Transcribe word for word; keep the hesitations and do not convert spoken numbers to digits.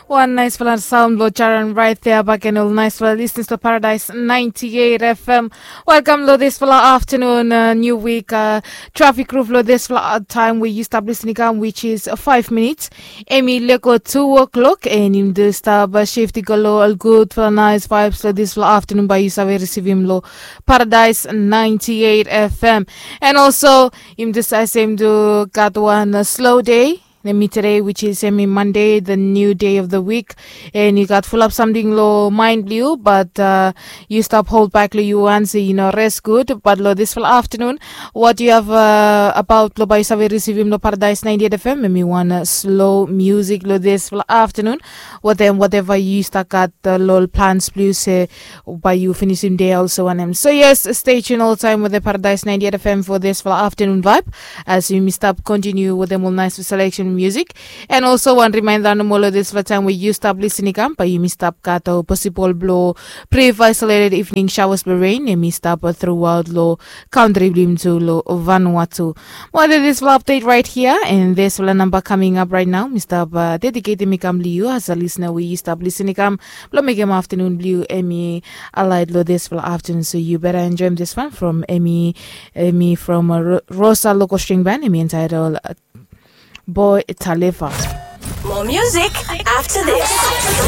Wan naispela saun blong Jaran rait thea baken ol naispela lisnis long Paradise ninety eight F M. Welkam long dispela aftanun, niu wik trafik ruf long dispela taim we yu stap lisin i kam, which is five minutes. Em i leko two o'clock, and yumi tu stap shifti go long ol gudpela nais vibes long dispela aftanun, bai yu save risivim long Paradise ninety eight F M. And also, yumi tu save sem tu gat wan slow day. Em i today, which is em i Monday, the new day of the week. And yu gat fulap samting long mind blong yu, but yu stap hold back long yu wan, so yu no rest good. But long dispela aftanun, what you have about long bai yu save risivim long Paradise ninety eight F M, em i wan slow music long dispela aftanun. Watem whatever yu stap gat long plans blong yu, se bai yu finisim dei also wanem. So yes, stay tuned all time with the Paradise ninety eight F M for this for afternoon vibe, as yumi stap continue with them all nice selection music. And also wan reminder nomo long dispela taim we yu stap lisin i kam, bai yumi stap gat ol posibol blong brief isolated evening showers blong rain, em i stap throughout long country blong yumi tu long Vanuatu. Mo dispela update right here, and dispela namba coming up right now, mi stap dediketim i kam long yu as a listener we yu stap lisin i kam blong mekim aftanun blong yu em i alait long dispela aftanun. So yu beta enjoim dis wan from em i em i from Rosa Local String Band, em i entitled Boy Taleva. More music after this.